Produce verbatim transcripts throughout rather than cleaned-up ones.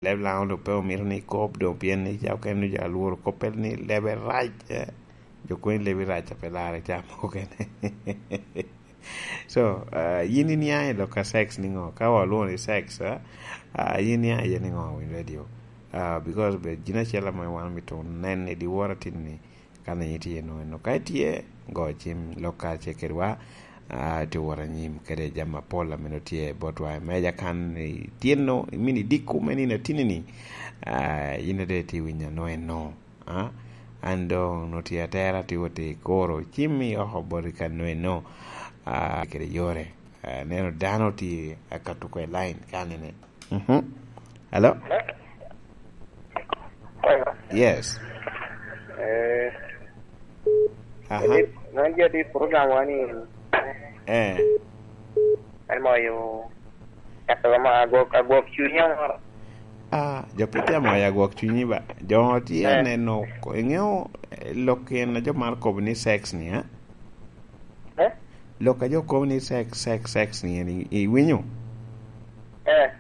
leb Laŋo doŋ pe omito ni ikob doŋ, pien ni ca okene jo alworo koppere ni lebe rac, eh. Jo koŋ i lebi rac a pe larre ca mokene. So, ah, yin iniaŋ i lok a sex niŋo? Ka wa olwoŋo ni sex, ah, ah, yin iniaŋ iye niŋo, Winy Radio? Ah, because be gin acel ame wan omito nen i dyewor atin ni, kan a yin itye eno, eno. Ka itye, go cim lok kacel kedwa, ah, itye wot anyim kede jami apol ame nongo tye botwa i meja kan, itye eno, imini diko me nino atini-ni, ah, yin ade itye winyo ano eno, ah? An doŋ nongo tye atera, tye wot i kuro, cim i oko boti kan eno, ah, kede yore, ah, neno dano tye akato kwe line kan ene. Mhm. Hello? Hello? Yes. Eh, aha. Jadi, non jadi program wani. Eh. Ay mo yo. Kato ma agwok, agwok cunya moro. Ah, jo pe tye amo ya gwok cunyi ba. Jo tye eh. Aneno ko-, iŋeo, eh, lok en a jo mar kobo ni sex ni, eh? Eh? Lok a jo kobo ni sex, sex, sex ni, en i-, iwinyo? Eh.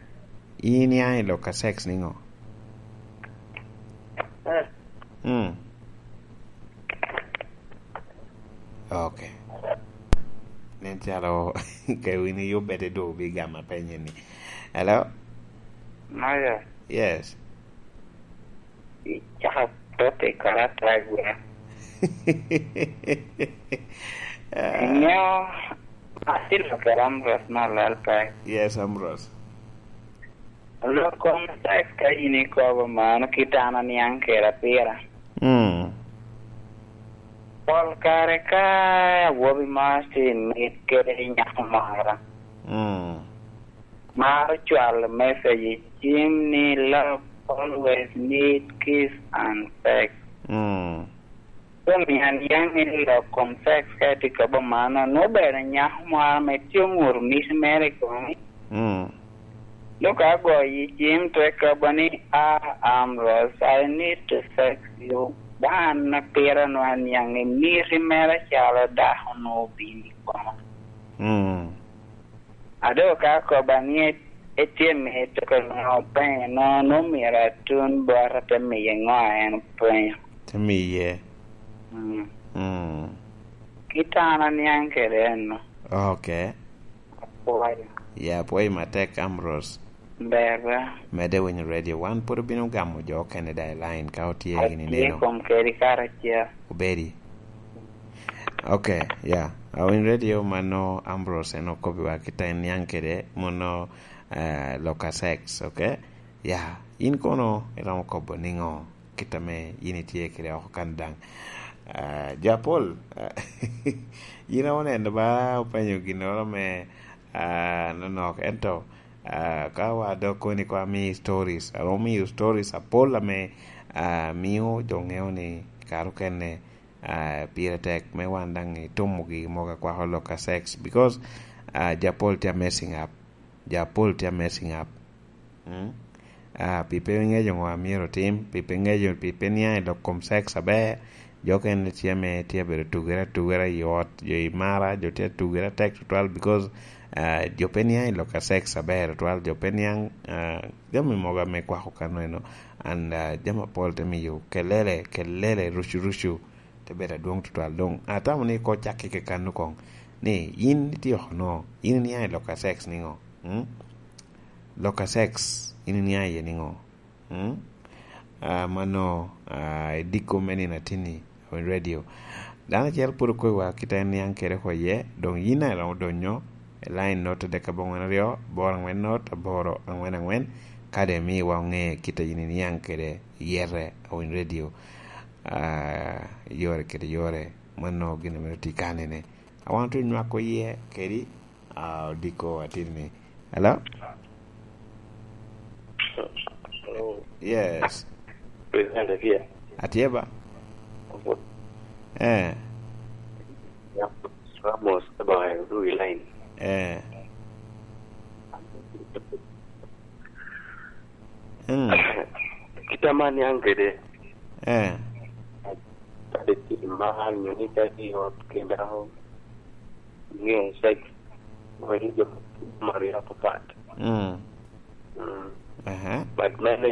In iniaŋ i lok a sex niŋo? Eh. Mm. Ok. Nen calo ka wini yubbe te dwogo bi gama penye ni. Hello? Maya. Yes. Icako topic kara atwal gwa. Ah. Iŋeo, atye lok kara Ambrose me Alal Pac. Yes, Ambrose. Lok kom sex ka in ikobo mano, kit an aniaŋ kede apira. Mm. Pol kare ka awobi mo tye i mit kede nyako moro. Mm. Maro cwalo message i cim ni love always need kiss and sex. Mm. Omiyo an aniaŋ ni lok kom sex ka itye ka bo mano, nwoŋo obedo nyako moro ame tye oŋuto miti mere i komi. Mm. Dok agoyo i cim, te kobo ni, "Ah, Ambrose, I need to sex you." Ba an apira nwoŋo aniaŋ ni miti mere calo dako nwoŋo obino i koma. Mm. A dok ka koba ni e-, etye mito ka nwoŋo openyo, no, no myero atun bot ate miye ŋo a en openyo. Te miye. Mm. Mm. Kit an aniaŋ kede eno. Ok. Apwoyo. Ya, apwoyo matek, Ambrose. Ber ba. Mede winyo radio. Wan pwod obino gamo jo okene da i line ka otye gini neno. Atye kom kedi karacel. Obedi. Ok, ya. Awiny radio mano Ambrose en okobbiwa kit a en niaŋ kede mono, eh, lok a sex, ok? Ya, in kono iromo kobo niŋo kit ame in itye kede oko kan daŋ? Ah, jo apol, ah, yin a oneno ba openyo ginnoro me, ah, nonok, ento, ah, ka wa dok koni ko ami stories, aromo miyo stories apol ame, ah, mio jo ŋeo ni kare okene, ah, pire tek me wan daŋ itumo gigi mogo akwako lok a sex, because, ah, jo apol tye a messing up. Jo apol tye a messing up. Mm? Ah, pi pe ŋeco ŋo a myero otim, pi pe ŋeco, pi pe niaŋ i lok kom sex aber, jo okene tye ame tye abedo tugere atugera i ot, jo i mara, jo tye atugere atek tutwal, because, ah, jo pe niaŋ i lok a sex aber tutwal, jo pe niaŋ, ah, jami mogo ame kwako kano eno, and, ah, jami apol te miyo kelele, kelele, rucu, rucu, te bedo adwoŋ tutwal. Doŋ atamo ni koŋ cak kike kan okoŋ, ni yin itye oko no, yin iniaŋ i lok a sex niŋo? Mm? Lok a sex, yin iniaŋ iye niŋo? Mm? Ah, mano, ah, i diko me nino atinni, i radio. Dano acel pwod okobiwa kit a en niaŋ kede oko iye, doŋ yin a iromo donyo i line not adek aboŋwen aryo, aboro aŋwen not, aboro aŋwen aŋwen, kadi imiwa oŋe kit a yin iniaŋ kede yete, Awiny Radio, ah, yore kede yore. Mano gin ame tye kanene. A wan otye nywako iye kedi, ah, odiko atin ni. Hello? Hello. Yes. President Akia. Atye ba? Opo. Eh. Yap, Ramos, Abayo, Louis Line. Eh. Mm. Kit a man niaŋ kede. Eh. Kadi tim mar nyo ni ka tye i ot kendo ŋeo sex, wek jo maro ya papat. Mm. Mm. Aha. But mene